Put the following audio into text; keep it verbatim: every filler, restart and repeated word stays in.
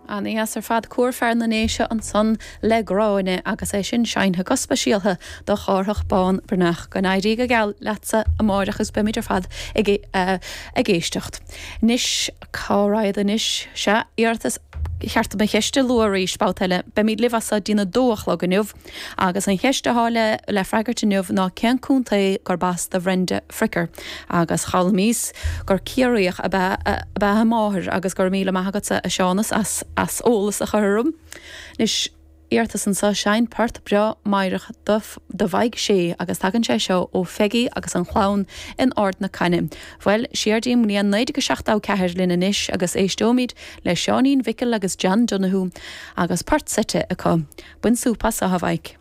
An-dheas ar fad Cór Fear na nDéise ansan le Gráinne agus é sin seinnte go speisialta do Chárthach Bán Breathnach go n-éirí go geal leatsa amáireach agus beimid ar fad ag uh, ag éisteacht. Anois cá raghad anois sea iarratas cheart mo cheist a lua arís babhta eile, Beimid libh as dtína dó a chlog inniu, agus an cheist atá le le freagairt inniu ná cén contae gurb as do Bhrenda Fricker, agus d'fhoghlaimíos gur Ciarraíoch ab ea ab ea a máthair agus gur míle maith agatsa a Seánas as as eolas a chur orm. Anois iarratas anseo seinn port breá meidhreach do Mhaidhc Sé agus tagann sé seo ó Pheigí agus an chlann in Ard na Caine. Bhuel siar dtí'n mbliain naoi déag seachtó ceathair linn anois agus éisteoimid le Seáinín Mhicil agus John Donoghue agus port seite acu. Bain súp as a Mhaidhc.